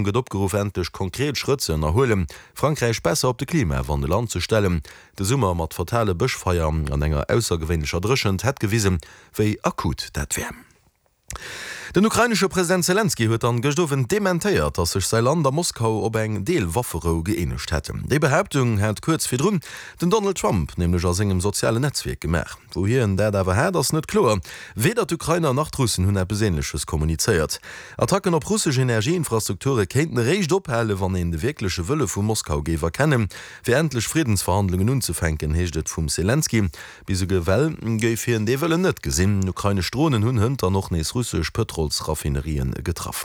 Gëtt opgeruff, endlech konkret Schrëtt ze ënnerhuelen, Frankräich besser op de Klimawandel anzestellen. De Summer mat fatale Bëschfeier an enger aussergewéinlecher Dréchent hätt gewisen, wéi akut dat wär. Den ukrainesche President Selenskyj huet dann gëscht Owend dementéiert, datt sech säi Land a Moskau op eng Deel-Wafferou gëeenegt hätten. Déi Behaaptung hat kuerz virdrun den Donald Trump nämlech a sengem sozialen Netzwierk gemaach. Wou hien dat awer hat, ass net kloer. Weder d'Ukrainer nach d'Russen hunn eppes Änleches kommunizéiert. Attacken op russesch Energieinfrastrukture kéinten eréischt ophalen, wann een de wierkleche Wëlle vu Moskau géif erkennen, fir endlech Friddensverhandlungen unzefänken, heescht et vum Selenskyj. Bis ewell géif hien dee Wëllen net gesinn. Ukrainesch Dronen hunn hënt dann och nees russesch Pëtrolsraffinerien getraff.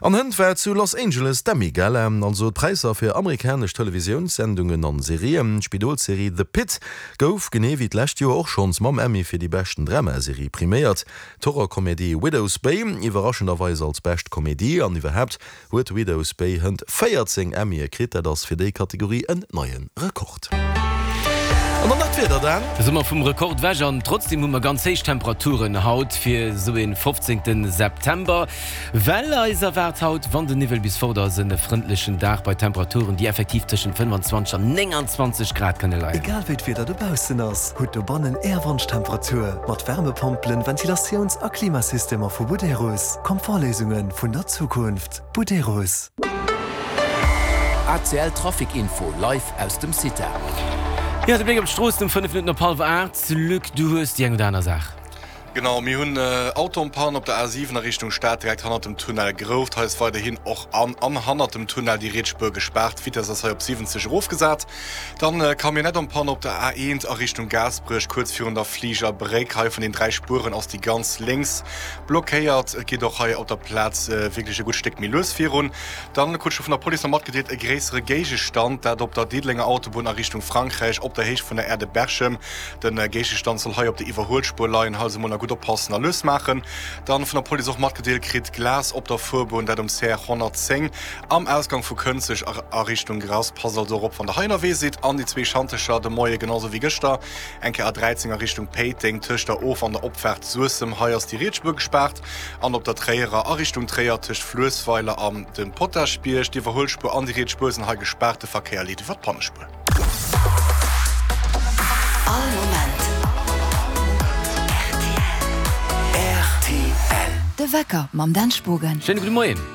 An hënt war zu Los Angeles d'Emmy-Gala, also d'Präisser fir amerikanesch Televisiounssendungen an Serien. D'Spidolsserie The Pitt gouf, genee wéi d'lescht Joer och schonns, mam Emmy fir déi beschten Dramaserie priméiert. D'Horrorkomedie Widow's Bay iwwerraschenderweis als bescht Komedie an iwwerhaapt huet Widow's Bay hënt 14 Emmyë kritt, dat ass fir déi Kategorie en neie Rekord. An dann nach d'Wieder, Dan. Da si mer vum Rekord ewech an trotzdeem hu mer ganz héich Temperaturen haut fir esou een 15 September. Well eis erwaart haut, wann den Niwwel bis fort ass, en frëndlechen Dag bei Temperaturen, déi effektiv tëschent 25 an 29 Grad kënne leien. Egal wéi d'Wieder dobaussen ass, hutt dobannen Är Wonschtemperatur mat Wärmepompelen, Ventilatiouns a Klimasystemer vu Buderus. Komfortléisunge vun der Zukunft. Buderus. ACL Trafic Info live aus dem CITA. Jo, de Bléck op d'Stroossen um 5 Minutten op hallwer 8. Luc, du hues déi eng oder aner Saach. Genau, mir hunn Auto en panne op der A7 a Richtung Stad, direkt hannert dem Tunnel Grouft. Hei ass weiderhin och an an hannert dem Tunnel déi riets Spuer gespaart. D'Vitess ass hei op 70 erofgesat. Dann Camionnette en panne op der A1 a Richtung Gaasperech, kuerz virun der Fligerbréck. Hei vun den 3 Spueren ass déi ganz lénks blockéiert. Et geet och hei op der Plaz wierklech e gutt Stéck méi lues virun. Dann krut ech scho vun der Police nach matgedeelt, e gréissere Géigestand, dat op der Diddelenger Autobunn a Richtung Frankräich op der Héicht vun der Aire de Berchem. Den Géigestand soll hei op der Iwwerhuelspuer leien. Hei also mol nach gutt oppassen a lues maachen. Dann vun der Police och matgedeelt kritt, Glas op der Fuerbunn, dat um CR 110 am Ausgang vu Kënzeg a Richtung Grass. Passt also och op wann der hei ënnerwee sidd. An déi zwee Schantecher de Moie genau sou wéi gëschter eng Kéier A13 a Richtung Péiteng tëscht der Of an der Opfaart Suessem. Hei ass déi riets Spuer gespaart. An op der Tréierer a Richtung Tréier tëscht Fluessweiler an dem Potaschbierg. D'Iwwerhuelspuer an déi riets Spuer sinn hei gespaart. De Verkéier leet iwwer d'Pannespuer. All Moment rtl. De Wecker mam Dan Spogen. Schéine gudde Moien.